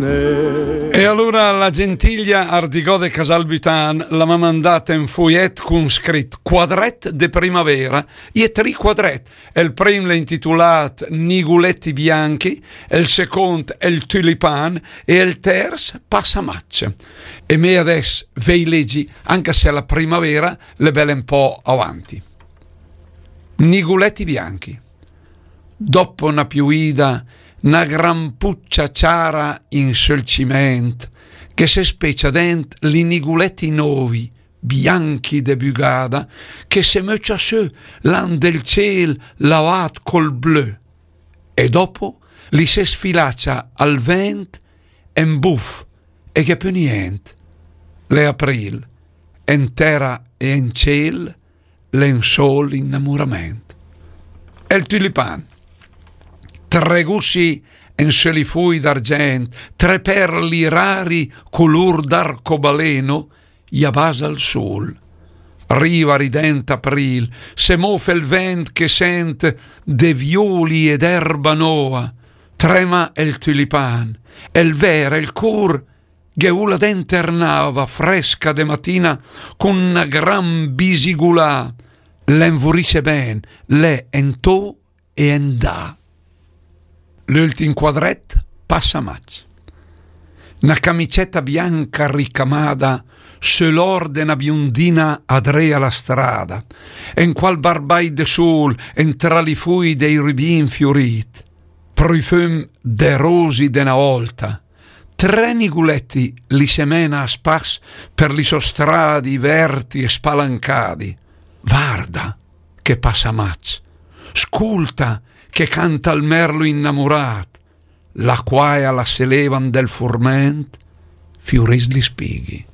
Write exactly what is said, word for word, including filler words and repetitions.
E alura la gentilia Ardigò de Casalbutan la m'ha mandat en fuiet cun scrit quadret de primavera, e tri quadret, el prim l'è intitulat Niguleti bianchi, el second el tulipan e el ters Passamatg. E me adess vei legi, anca se la primavera l'è bel en po avanti. Niguleti bianchi. Dopo na piuida, na gran puccia ciara in sul ciment, che se specia dent li niguleti novi, bianchi de bugada, che se möcia sö là 'n del ciel lavat col blö. E dopo li se sfilacia al vent en buf e che pö nient. L'è april, en tera e en ciel, l'è 'n sol innamurament. El tulipan. Tre gussi en sö li fui d'argent, tre perli rari culur d'arcobaleno, i a basa al sul. Riva rident april, se mof el vent che sent de violi e d'erba nova, trema el tulipan, el ver, el cur, ghe ula dent er n'ava fresca de matina cun na gran bisigulà, l'envurisse ben, l'è en to e en da. L'ultim quadret, Passamatg. Na camiceta bianca ricamada sö l'or de na biondina adré a la strada, en qual barbagl de sul, en tra li fui dei rubin fiurit, prufum de rosi de na olta, tre niguleti li se mena a spas per li so stradi verti e spalancadi. Varda che Passamatg, sculta che canta al merlo innamurat, la quaia la se leva 'n del furment, fiuris li spighi.